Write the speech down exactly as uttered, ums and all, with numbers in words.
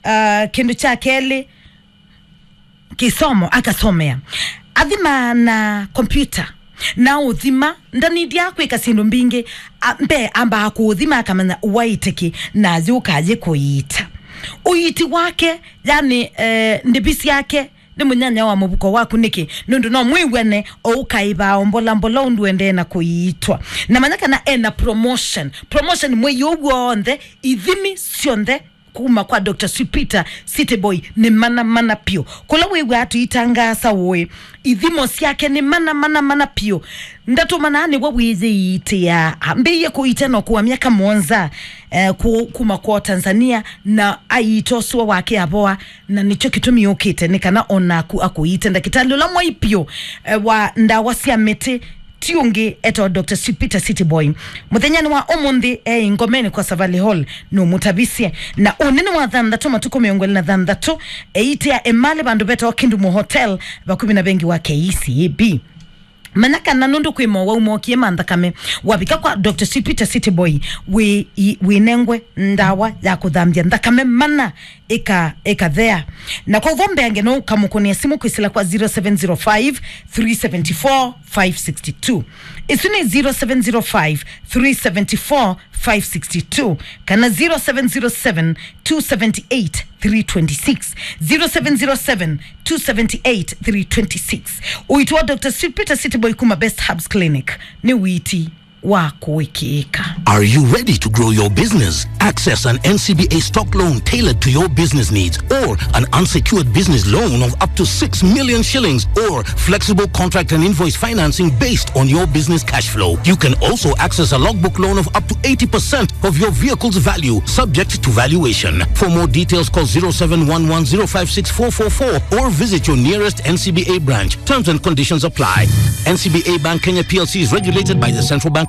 uh, kĩndũ kya kelĩ, kĩsomo akasomea. Athima na kompyuta. Na ũthima, ndanĩthya kwĩka syĩndũ mbingĩ, a, mbee ambaa kũũthima akamanya ũwaĩte kĩ, na yũkaa yĩ kũiita. Ũiiti wake, yani, eh, ndĩvi syake, nĩ mũnyanya wa mũvuko waku nĩkĩ? Nũndũ no mwĩw'ane o ũkaĩvaa o mbola mbola ũndũ endee na kũiitwa. Na manya kana ena promotion. Promotion mwei ũũ w'onthe, ithimi syonthe kuma kwa Doctor Sweet Peter City Boy nĩ mana mana piũ. Kũla wĩw'aa tũitangaasa ũĩ, ithimo syake nĩ mana mana mana piũ. Ndatũmanaa nĩwe wĩyĩiitĩaa. Ambĩĩie kũiita no kũa myaka mũonza, eh, ku-, kuma kwa Tanzania, na aiita ũsũa wake avoa, na nĩkyo kĩtumi ũkĩte, nĩ kana o naku akũiite. Ndakĩtalĩ ũla mwai piũ, eh, wa ndawa sya mĩtĩ, ti ũngĩ, etawa Doctor Sweet Peter City Boy. Mũthenyanĩ wa ũmũnthĩ, e Ngomeni kwa Savali Hall, nũmũtavisye. Na ũnene wa thanthatũ, matukũ mĩongo ĩlĩ na thanthatũ, eitea Emali vandũ vetawa Kindumu Hotel, vakuvĩ na vengi wa K C B. Manya kana nũndũ kwĩ mowau mokie ma nthakame, wavika kwa Doctor Sweet Peter City Boy, wĩ, i-, wĩnengwe ndawa ya kũthambya nthakame mana ĩka, ĩkathea. Na kwa ũvombeange no ũkamũkũnĩa simũ kwĩsĩla kwa zero seven zero five, three seven four, five six two. Ĩsu nĩ zero seven zero five, three seven four, five six two, kana zero seven zero seven, two seven eight, three twenty six. Zero seven zero seven, two seven eight, three twenty six. Ũiiti wa Doctor Sweet Peter City Boy kuma Best Herbs Clinic nĩ ũiiti wa kũĩkĩĩka. Are you ready to grow your business? Access an N C B A stock loan tailored to your business needs or an unsecured business loan of up to six million shillings or flexible contract and invoice financing based on your business cash flow. You can also access a logbook loan of up to eighty percent of your vehicle's value, subject to valuation. For more details, call zero seven one one zero five six four four four or visit your nearest N C B A branch. Terms and conditions apply. N C B A Bank Kenya P L C is regulated by the Central Bank